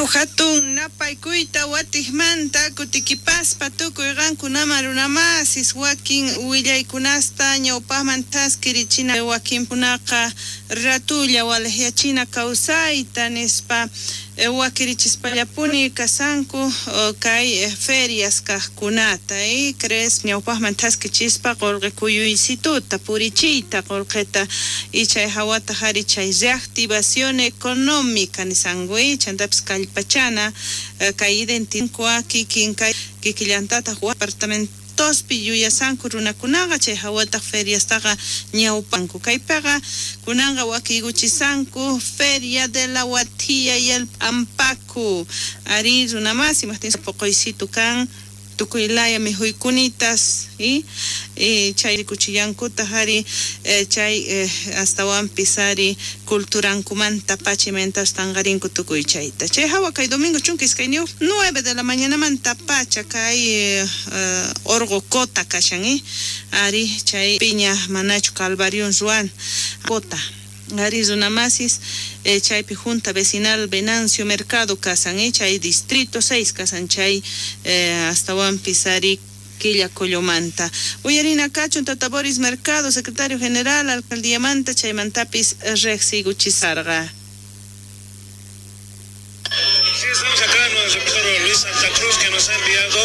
Hatun napaykuyta watijmanta kutikipaspa tukuy qankunaman runamasis wakin willaykunasta ñawpaqman thaskirichina, wakinkunaqa ratulla walejyachina kawsayta nispa wakirichispallapuni kasanku kay ferias kajkunata, crees ñawpaqman thaskichispa qolqe kuyuysituta purichiyta qolqeta y chay hawata hari chay reactivación económica nisanku, chantapis kallpachana kay identidad kikin kay kikillantataq departamentospi yuyasanku runakunaqa chay hawataq feriastaqa ñawpanku kaypiqa kunanqa wakiykuchisanku Feria de la Huatia y el Ampacu ari runamasi imajtin poqoysitu kan tukuy laya mijuykunitas y chay rikuchillankutaj ari chay astawanpis ari culturankumanta pachimentas tanqarinku tukuy chayta chay hawa kay domingo 12 9 de la mañanamanta pacha kay orqo Cota kashan ari chay piña manachu calvarion ruan Cota ari runamasis chaypi junta vecinal Venancio Mercado kasan chay distrito 6 kasan chay astawanpis ari Quillacollomanta. Uyarina kachun Tata Boris Mercado, secretario general, alcaldía manta, chaymantapis rejsiguchisarqa. Sí, estamos acá, nuestro reportero Luis Santa Cruz, que nos ha enviado